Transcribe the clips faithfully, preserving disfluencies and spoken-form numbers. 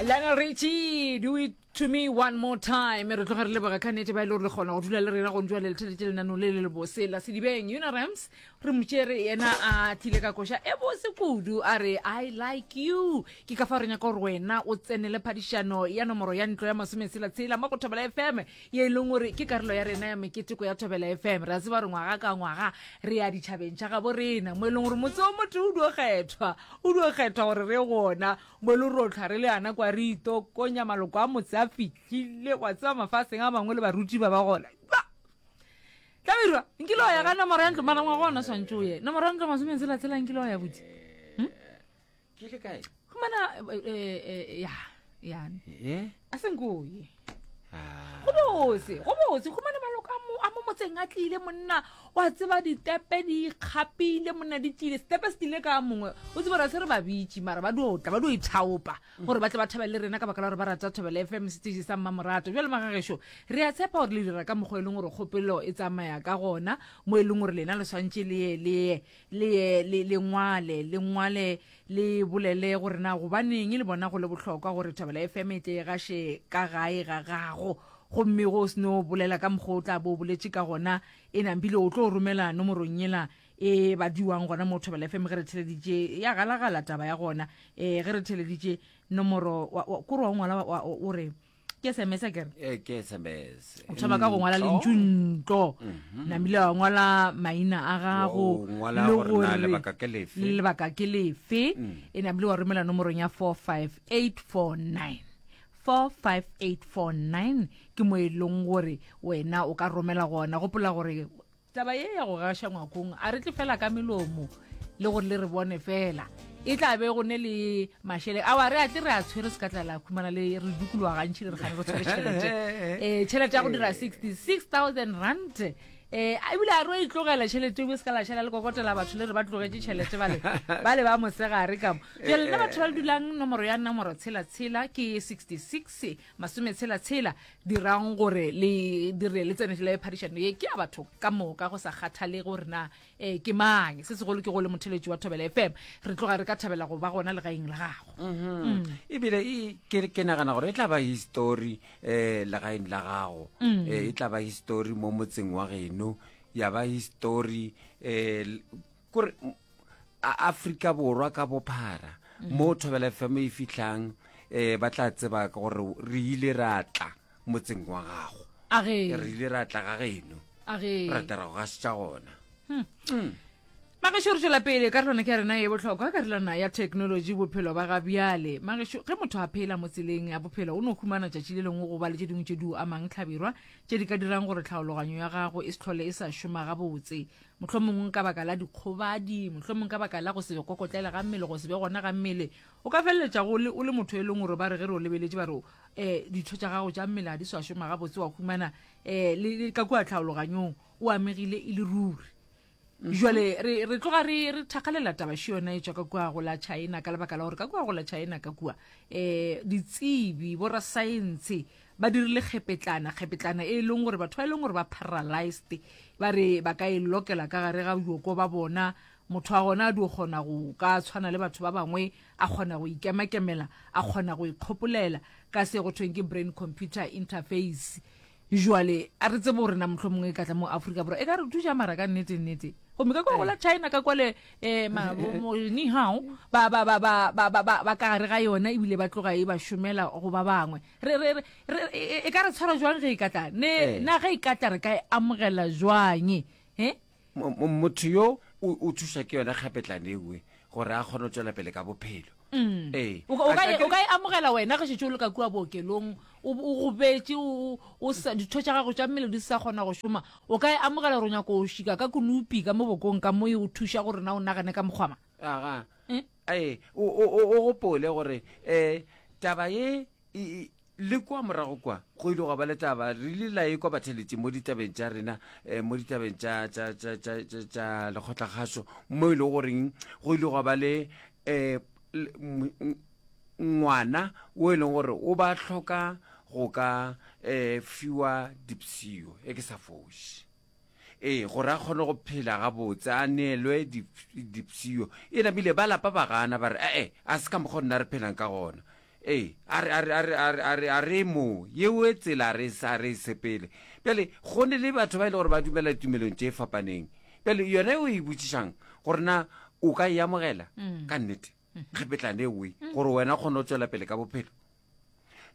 Lionel Richie, do it to me one more time. Re tloga re leboga ka nnete ba e le gore le kgona go dula le rena go ntšwa le letheletše lenaneo le le lebose la Sedibeng. Yuna Rams re motšere yena a tlile ka koša e bose kudu, a re I like you. Ke ka fa re nyaka gore wena o tsenele phadišano ya nomoro ya ntlo ya masometshela-tshela mo go Thobela F M, ye e leng gore ke karolo ya rena ya meketeko ya Thobela F M. Re a tseba gore ngwaga ka ngwaga re ya ditšhabeng tša gabo rena, mo e leng gore motse o motho o dio kgethwa, o dio kgethwa gore re gona, mo e leng gore o tlhwa re le yana kwa re itokonya maloko a motse a fihlile, wa tseba mafaseng a mangwe le baruti ba ba gona. Ba! Hlabirwa, nkile wa ya ka nomoro ya ntlo, mara ngwaga ona swantše o ye. Nomoro ya ntlo masometshela-tshela nkile wa ya botse. Hm? Ke le kae? Humana, eh, eh, ya, ya. Eh? A se nko o ye. Ah. Go bose, go bose. Humana maloko a mo, a mo motseng a tlile monna, wa tseba ditepe di ikgapile monna, di tlile. Setepe se tlile ka mongwe. O tsebe gore a se re ba bitše, mara ba dio tla, ba dio ithaopa gore ba tle ba thabele le rena ka baka la gore ba rata Thobela F M, seteše sa Mmamorato. Bjale magagešo, re a tshepa gore le dira ka mokgwa e leng gore kgopelo e tsamaya ka gona, mo e leng gore lena le swantše le ye, le ye, le ye, le, le ngwale, le ngwale, le bolele gore na gobaneng le bona go le bohlokwa gore Thobela F M e tle e gaše ka gae ga gago. Gomme go se no bolela ka mokgwa o tla bo o boletše ka gona, e nampile o tlo romela nomorong yela e badiwang gona mo Thobela F M ge re theleditše, ya galagala taba ya gona. Eh, ge re theleditše nomoro, wa, wa, kore wa ngwala, wa, wa, o re, ke S M S a kere? Eh, ke S M S. O thoma ka go ngwala Ntlo. lentšu ntlo. Mhm. Namile wa ngwala maina a gago, O ngwala le gore na gore lebaka ke lefe. le lebaka ke lefe. Mm. E namile wa romela nomorong ya four five eight four nine. four five eight four nine ke mo e leng gore wena o ka romela gona. Gopola gore taba ye ya go gaša ngwakong a re tle fela ka melomo le gore le re bone fela, e tla be go ne le mašele awa re a tle re a tshwere se ka tla la khumana le re dukologa gantši le re gane re tshwere tšhelete. Eh, tšhelete ya go dira sixty-six thousand rand. Eh, ebile a re o e tlogela tšhelete o se ka la šala le kokotela batho le re ba tlogetše tšhelete bale, bale ba mosegare ka mo. Jwale nna batho ba le dulang nomoro ya nomoro tshela tshela ke sixty-six masome tshela tshela, dirang gore le dire le tsene le phadišano ye ke ya batho ka moka go sa kgathale gore na, eh, ke mang. Se segolo ke go le motheletši wa Thobela F M, re tloga re ka thabela go ba gona legaeng la gago. Mhm. Mm. Ebile e, ke, ke nagana gore e tla ba history, eh, legaeng la gago. Mm. Eh, e tla ba history mo motseng wa geno, ya ba history, eh, l-, kore, m-, a-, Afrika Borwa ka bophara, Mm. mo Thobela F M e fihlang, eh, ba tla tseba ka gore re ile ra tla motseng wa gago. A ge. Re ile ra tla ga geno. A ge. Ra tla ra go gašetša gona. Hmm. Mm. Magešo, re tšwela pele karolwana ke ya rena ye bohlokwa, karolwana ya technology, bophelo ba ga bjale. Magešo, ge motho a phela mo tseleng ya bophelo, o no humana tšatši le lengwe go ba le tše dingwe tše di o amang hlabirwa, tše di ka dirang gore tlhaologanyo ya gago e se hlole e sa šoma gabotse. Mohlomongwe ka baka la dikgobadi, mohlomongwe ka baka la go se kokotlela ga mmele, go se be gona ga mmele, o ka feleletša go le, o le motho e leng gore ba re ge re o lebeletše ba re, eh, ditho tša gago tša mmele ga di sa šoma gabotse, wa humana, eh, le, le ka kua tlhaologanyong o amegile e le ruri. Mhm. Jwale re, re tloga re, re thakgalela taba še yona e tšwa ka kua go la China, ka lebaka la gore ka kua go la China ka kua, eh, ditsebi, borasaense ba dirile kgepetlana, kgepetlana e leng gore batho ba e leng gore ba paralyzed, ba re ba ka e lokela ka gare ga bjoko ba bona, motho wa gona a dio kgona go ka tshwana le batho ba bangwe, a kgona go ikemakemela, a kgona go ikgopolela ka se go thweng ke brain computer interface. Jwale a re tsebe gore na mohlomongwe e ka tla mo Afrika Borwa e ka re thuša mara ka nnete nnete. Gomme ka kwa go la China ka kwale, eh, ma, bo, mo, ni hao, ba, ba, ba, ba, ba, ba, ba, ba ka gare ga yona ebile ba tloga e ba šomela go ba bangwe. Re, re, re, re, e, e, e ka re tshwara jwang ge e ka tla? Ne, Eh. na ge e ka tla re ka e amogela jwang? Eh? Mo, mo, motho yo o, o thuša ke yona kgapetlane ewe gore a kgone go tšwela pele ka bophelo. Mm. Ee. O ka, o ka A e, ka o ka e amogela wena ge šetše o le ka kua bookelong, o, o gobetše, o, o sa, ditho tša gago tša mmele di sa kgona go šoma, o ka e amogela gore o nyaka go šika ka konopi ka mo bokong ka mo e o thuša gore na o nagane ka mokgwa mang? Aga. Eh? Ee, o, o, o, o gopole gore, eh, taba ye e, e, le kwa morago kwa go ile gwa ba le taba, re ile la e kwa batheletši mo ditabeng tša rena, eh, mo ditabeng tša, tša, tša, tša, tša, tša lekgotlakgašo, mo e le goreng go ile gwa ba le, eh, l-, m-, m-, ngwana o e leng gore o ba hloka go ka, eh, fiwa dipshio, e ke sa foše. Ee, gore a kgone go phela gabotse, a neelwe dip-, dipshio. E namile ba lapa ba gana, ba re, eh, eh, a se ka mokgwa nna re phelang ka gona. Ee, a re, a re, a re, a re, a re, a re mo yeo tsela a re sa re sepele. Bjale go ne le batho ba e le gore ba dumela ditumelong tše fapaneng. Bjale yona o e botšišang gore na o ka e amogela ka nnete kgepetlane ewe gore wena kgone go tswela pele ka bophelo.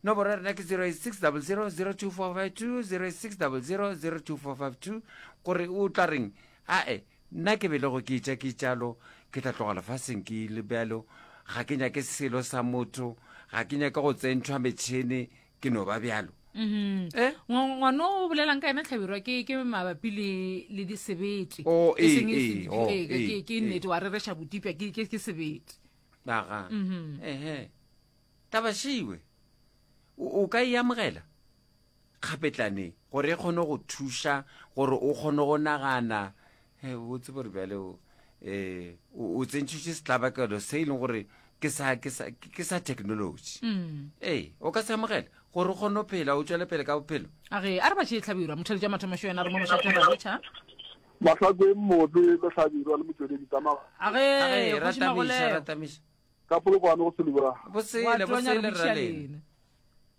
Nomoro ya rena ke zero eight six double zero zero two four five two, zero eight six double zero zero two four five two. Gore o tla reng, ae nna ke belego ke itša ke tšalo, ke tla tloga lefaseng ke ile bjalo, ga ke nyake selo sa motho, ga ke nyake go tsentšhwa metšhene, ke no ba bjalo. Mhm. Eh? Ngwa- ngwana o bolelang ka ena Hlabirwa ke ke mabapi le le disebete. Oh, E ee, seng e ee, se- oh, ee, ke- ee, ke ke ee. nnete wa rereša botipja ke ke ke sebete. Aga. Mhm. Ehe. Taba šiwe. O, o ka e amogela kgapetlane gore e kgone go thuša gore o kgone go nagana. He, o tsebe gore bjale o, eh, o, o tsentšhitše setlabakelo se e leng gore ke sa, ke sa, ke sa technology. Mm. Ee, o ka se amogela gore o kgone go phela, o tšwele pele ka bophelo. A ge a re ba tšee Hlabirwa, motheletši wa mathomo yena re mo mošate ra lotšha. Mahlakweng motse le Hlabirwa le motsweledi tsa ma- A A ge, ge, kgoši ratamiša, Magolego. ratamiša. Ka polokwane go Selibra. Bosele, Wa tonya re bosele botšiša ra lena. lena.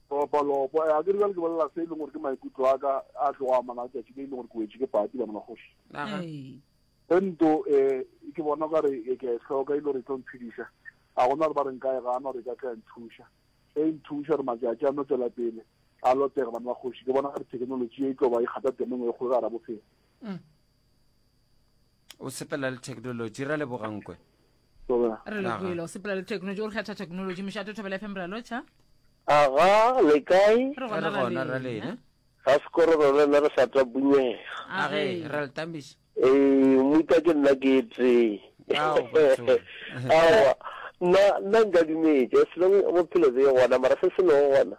Lopo, lopo. Eh, a ke re bjale ke bolela se e leng gore ke maikutlo a ka a tlogo amana tšatši le e leng gore ke wetše ke pati bana ba kgoši. Aga. Ee. Ento, eh, ke bona o kare, eh, ke a e hloka e le gore e tlo mphediša. A gona gore ba re nka e gana gore e ka tla ya nthuša. E nthuša gore matšatši a no tswela pele a lotega bana ba kgoši. Ke bona gore technology e tlo ba e kgatha tema e nngwe e kgolo ka gare ga bophelo. Mm. O sepela le technology, ra leboga Nkwe. Thobela. Re lebohile, o sepela le technology, o re kgetha technology. Mošate Thobela F M re a lotšha. Aga, le kae? Re gona Re gona, ra ra lena. lena. Ga sekororo le nna re sa tla bunyega. A ge, ra le tamiša. Ee, mmuta ke nna ke tee. Ao, batho. Aowa, nna, nna nka dumetše, selong bophelo be gona, mara se se lego gona.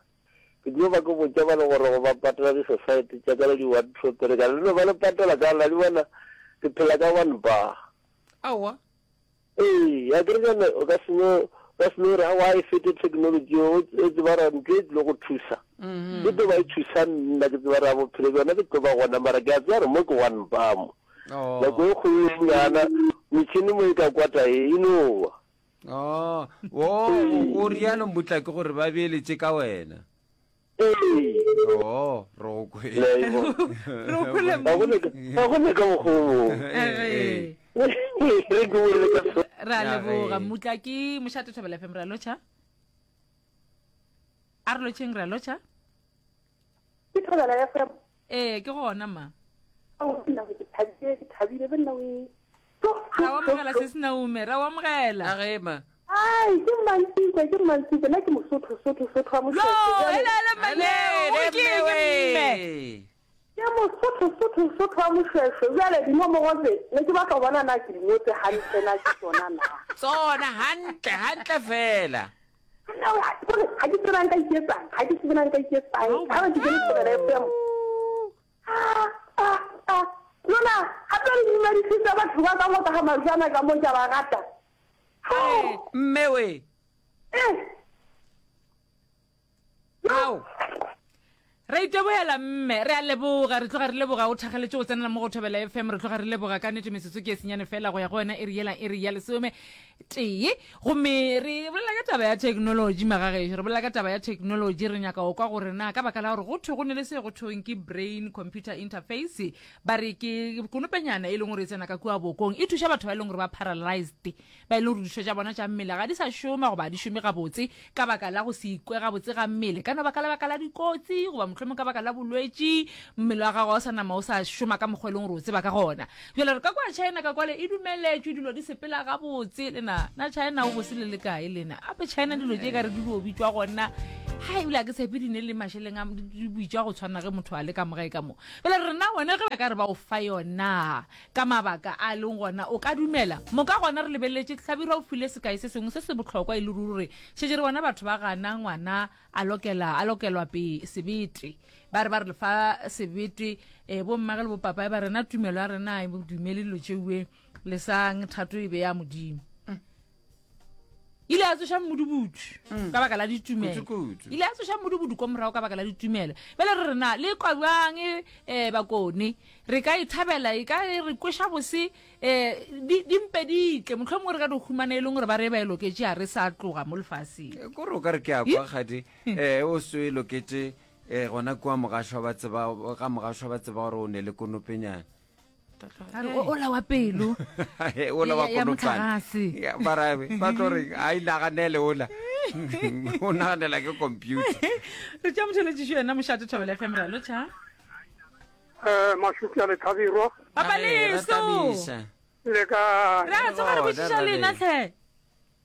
Ke tlo ba ke botša ba le gore go ba patela di-society tša ka le di-one two three, ka le no ba le patela ka la di bona, ke phela ka one bar. Aowa. Ee, a ke re jana, o ka se no, o ka se no re, aowa, e fete technology, o, o tseba gore ntho e tlile go thusa. Mm-hmm. Ke tlo ba e thusa nna, ke tseba gore bophelo bjona ke tlo ba gona, mara ke a tseba gore mo ke one bar mo. Oh. Nako e kgolo e nyana, metšhini mo e ka kwata e, e no wa. Oh, o, o rialo mmutla ke gore ba beeletše ka wena. Ee. Oh, re go kwele. Le a e bona. Re go kwele Ga go ne ka, ga go ne ka mokgwa o mongwe. Ee. Re ke bolele ka so. Re a Ya leboga ge. mmutla ke mošate Thobela F M re a lotšha. A re lotšheng, re a lotšha. Ke Thobela F M. Ee, ke gona ma. Ao, nna ke thabile, ke thabile be nna o. Ra o amogela se se naume, ra o amogela. A ge ma. Ai, ke Mmantsiko, ke Mmantsiko, nna ke Mosotho, Sotho, Sotho wa Mosotho. Lo, Jwale- ele, ele, Mmaneo, Ale, o ke eng, mme mme? we. Ke Mosotho, Sotho, Sotho wa Moshweshwe. Jwale dinomoro tse, ne ke batla ho bona na ke di ngotse hantle na ke tsona na. Tsona hantle, hantle fela. Nna, ha ke tsebe, ha ke tsebe na nka iketsang, ha ke tsebe na nka iketsang. Ha ba ke kene Thobela F M. Ah, ah, ah. Lona, hape le dumedisitse batho ba ka mo ka ga Majwana ka mo ke a ba rata. Hey, mme we. Eh. Ao. Re itebohela mme, re a leboga, re tloga re leboga o thageletše go tsenela mo go Thobela F M, re tloga re leboga ka nnete metsotso ke e senyane fela go ya go wena e re yela e re ya lesome tee. Gomme re bolela ka taba ya technology magagešo, re bolela ka taba ya technology, re nyaka go kwa gore na ka baka la gore go thwe go ne le se go thweng ke brain computer interface, ba re ke konopenyana e leng gore e tsena ka kua bokong, e thuša batho ba e leng gore ba paralyzed, ba e leng gore ditho tša bona tša mmele ga di sa šoma goba di šome gabotse ka baka la go se ikwe gabotse ga mmele, ka no baka la baka la dikotsi goba mohlomong ka baka la bolwetši, mmele wa gago wa sa nama o sa šoma ka mokgwa e leng gore o tseba ka gona. Jwale re ka kwa China ka kwale e dumeletšwe, dilo di sepela gabotse. Lena na China o bose le le kae lena? Ape China dilo tše ka re di dio bitswa gona, ha ebile ha ke tshepe di ne le mašeleng a di bitswa go tshwana ge motho a le ka mogae ka mo. Jwale rena wena ge ba ka re ba o fa yona ka mabaka a leng gona, o ka dumela moka gona re lebeletše Hlabirwa o file sekai se sengwe se se bohlokwa e le ruri, šetše re bona batho ba gana ngwana a lokela, a lokelwa pe sebete, ba re ba re le fa sebete, eh, bo mmage le bo papa ba rena tumelo ya rena e dumele dilo tšeue, lesang thato e be ya Modimo. Ile ya tsoša mmudubudu ka baka la ditumelo. Kudu-kudu. Ile ya tsoša mmudubudu kwa morago ka baka la ditumelo. Bjale re rena le kwa bjang um bakone re ka e thabela e ka e re kweša bose um di di mpe di tle mohlomongwe re ka di humana e leng gore ba re ba e loketše a re sa tloga mo lefaseng. Kore o ka re ke a kwa kgadi um o se o e loketše um gona kua mogašwa ba tseba ga mogašwa ba tseba gore o ne le konopenyana. A re, o- ola wa pelo ola wa Ya- ya konopane motlakase. Ya, bara ba tlo re a inaganele ola o naganela ke computer. Re tša motheletšišo yena mošate Thobela F M re a lotšha. Eh, Mašupi a Lethabirwa. Papa Re, ra Leso. thabiša. Le kae? Re a tsoga re Gona, botšiša ra lena le. tlhe.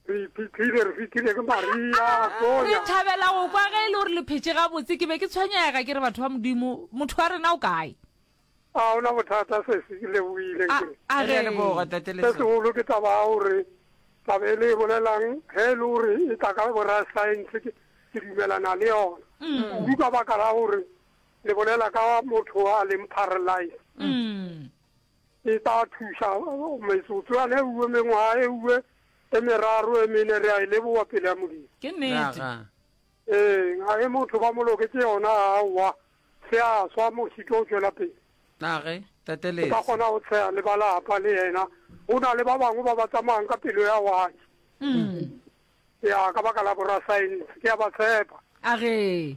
Re iphihlile, re fihlile ke Maria, Re Sonya. thabela go kwa ge e le gore le phetše gabotse. Ke be ke tshwenyega ke re batho ba Modimo, motho wa rena o kae? A ona bothata se se ke lebohile A ke. a Re a ge. leboga tate Se Leso. segolo ke taba ya gore taba e le e bolelang ge e le gore e tla ka borasaense ke ke dumelana le yona. Kudu ka baka la gore le bolela ka motho a leng paralyzed. Mm. E tla thuša metsotso yane e uwe mengwaga e uwe e meraro e mene re a e leboga pele ya Modimo. Ke nnete. Naga. Ee, ga e motho ba mo loketse yona aowa se a swa mošito o tšwela pele. Nage tate O ka Leso. kgona go tsheya le ba lapa le yena. Go na le ba bangwe ba ba tsamayang ka pelo ya watše. Mm. Ya ka baka la borasaense ke a ba tshepa. A ge.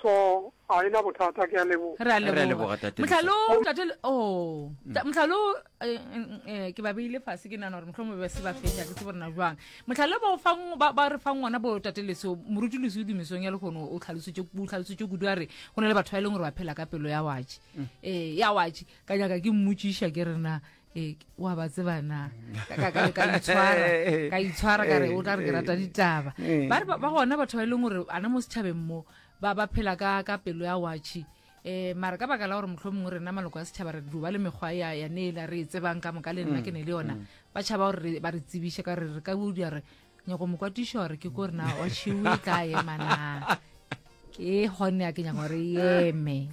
So ga ena bothata ke a leboga. Re a Re a leboga. leboga, tate Mohlalo tate Le- oh Ta- mohlalo eh, eh, ke ba beile fase ke nahana gore mohlomongwe ba se ba fetša ke tsebe gore na jwang. Mohlalo ba o fang ba ba re fang ngwana bo tate Leso moruti Leso tumisong ya lekgono o tlhalositše o tlhalositše kudu a re go na le batho ba e leng gore ba phela ka pelo ya watše. Eh ya watše ka nyaka ke mmotšiša ke re na eh wa ba tseba na ka ka ka ka itshwara ka itshwara ka re o tla re ke rata ditaba. Ba re ba ba gona batho ba e leng gore ana mo setšhabeng mo ba ba phela ka ka pelo ya watšhe. Eh mara ka baka la gore mohlomongwe rena maloko a setšhaba re duba le mekgwa ya ya neela re e tsebang ka moka le nna ke ne le yona ba tšhaba gore re- ba re tsebiše ka re re ka bodia re nyako mokwatiša gore ke ko rena watšhe o e tla ema na ke gone ya ke nyaka gore e eme.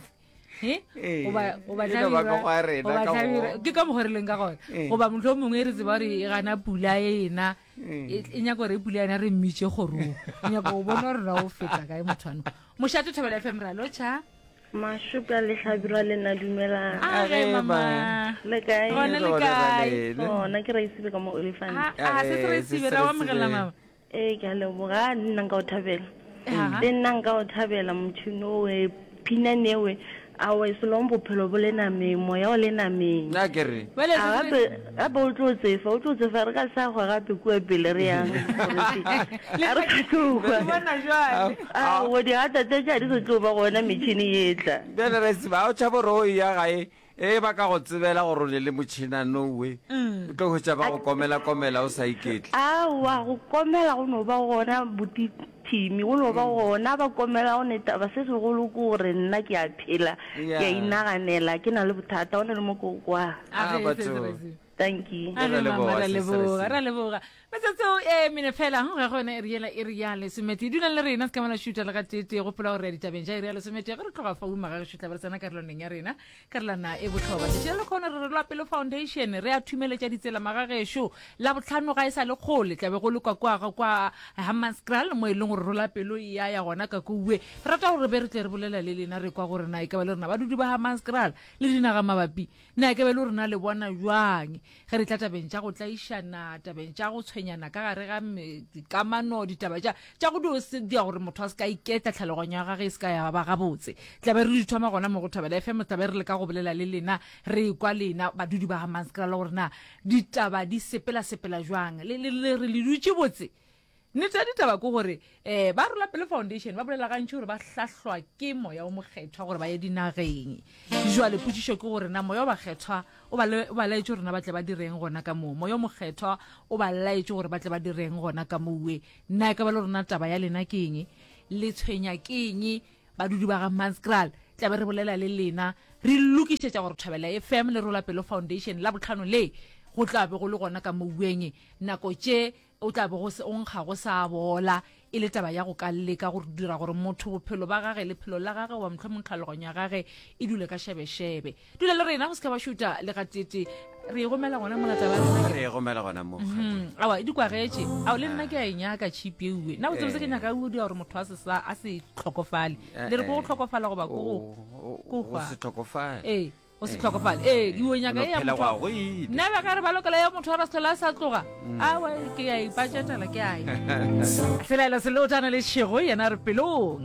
Eh? Ee, Goba- goba e no ba Hlabirwa- ka go a rena goba ka Hlabirwa- go- ke ka mokgwa re leng ka gona. Ee. Goba mohlomongwe re tseba gore e gana pula ena e e nyaka gore e pula ena re mmitše kgorong. E nyaka go bona gore na o feta kae motho ano. Mošate Thobela F M re a lotšha. Mašupi a Lehlabirwa le nna dumelang. A ge Age, mama. ma. Le kae? Gona le Gona kae? re le. Gona ke Raisibe ka mo Olifant. A a se se re Age, sibe se ra re o amogela sibe. mama. Ee, ke a leboga nna nka o thabela. Aha. Le nna nka o thabela motšhini owe phinane ewe aowa selong bophelo bo le nameng moya o le nameng. Nna ke re Bjale A se se- gape gape o tlo tsefa o tlo tsefa re ka sa gwa gape kua pele re yang a re sa tlo Re kwa. bona jwale. Aowa digatata tša di sa tlo ba gona metšhini e tla. bjale re tseba o tšhaba gore o ya gae e ba ka go tsebela gore o ne le motšhinano we o tlo hwetša ba go komela komela o sa iketle. Aowa go komela go no ba gona botithimi go no ba gona ba komela go ne taba se segolo ke gore nna ke a phela Yeah. ke a inaganela ke na le bothata go ne le mo ko kwa. A Ah, ge, batho. se se re sibe. Thank you. A Re ge, mama, leboga, ra sis, re leboga, sibe. ra leboga. Metsotso e mene fela go gona e re yela e re ya lesomete. Dulang le rena se ka mala šuta le ga tete gopola gore re ya ditabeng tša iri ya lesomete ge re tloga fa uma ga re šutla ba re tsena karolwaneng ya rena karolwana e botlhokwa. Tšatši la lekgono re re lwa pelo foundation re a thumeletša ditsela magagešo la botlhano ga e sa le kgole tlabe go le kwa kwa ga kwa Hammanskraal mo e leng gore rola pelo e ya ya gona ka kouwe. Re rata gore be re tle re bolela le lena re kwa gore na e ka ba le rena badudi ba Hammanskraal le dinaga mabapi na e ka ba le rena le bona jwang ge re tla tabeng tša go tlaišana tabeng tša go tshwenyana ka gare ga me- dikamano ditaba tša tša go dio se dia gore motho a se ka iketla tlhaloganyo ya gage e se ka ya ba gabotse. Tlabe re di thoma gona mo go Thobela F M tlabe re leka go bolela le lena re kwa lena badudi ba Hammanskraal gore na ditaba di sepela sepela jwang le le le re le dutše botse. Nnete ya ditaba ke gore um ba Rola Pelo Foundation ba bolela gantši gore ba hlahlwa ke moya o mokgethwa gore ba ye dinageng. Jwale potšišo ke gore na moya o bakgethwa o ba le- o ba laetše gore na ba tle ba direng gona ka moo. Moya o mokgethwa o ba laetše gore ba tle ba direng gona ka mowe. Nna e ka ba le rona taba ya lena ke eng? Le tshwenya ke eng badudi ba ga Hammanskraal? Tla be re bolela le lena re lokišetša gore Thobela F M le Rola Pelo Foundation la botlhano le go tla be go le gona ka moueng nako tše o tla be go se o nkga go sa bola e le taba ya go ka leka go dira gore motho bophelo ba gage lephelo la gage goba mohlomong tlhaloganyo ya gage e dule ka šebešebe. Dula le rena go se ka ba šuta le gatete Re e gomela gona mola taba ya rena. Re e gomela gona mo. Mm, awa e di kwagetše ao le nna ke a e nyaka chip eue nna botsebotse ke nyaka o dira gore motho a se sa a se tlhokofale le re ko go tlhokofala goba ko go Go hwa. se tlhokofale. Ee o se tlhokofale ee ke o nyaka e ya phela motho go go ile. Nna ba ka re ba lokela ya motho a ra se tlhola a sa tloga awa ke a ipatšetela ke a ya. Selaelo se leotana le šego yena re pelong.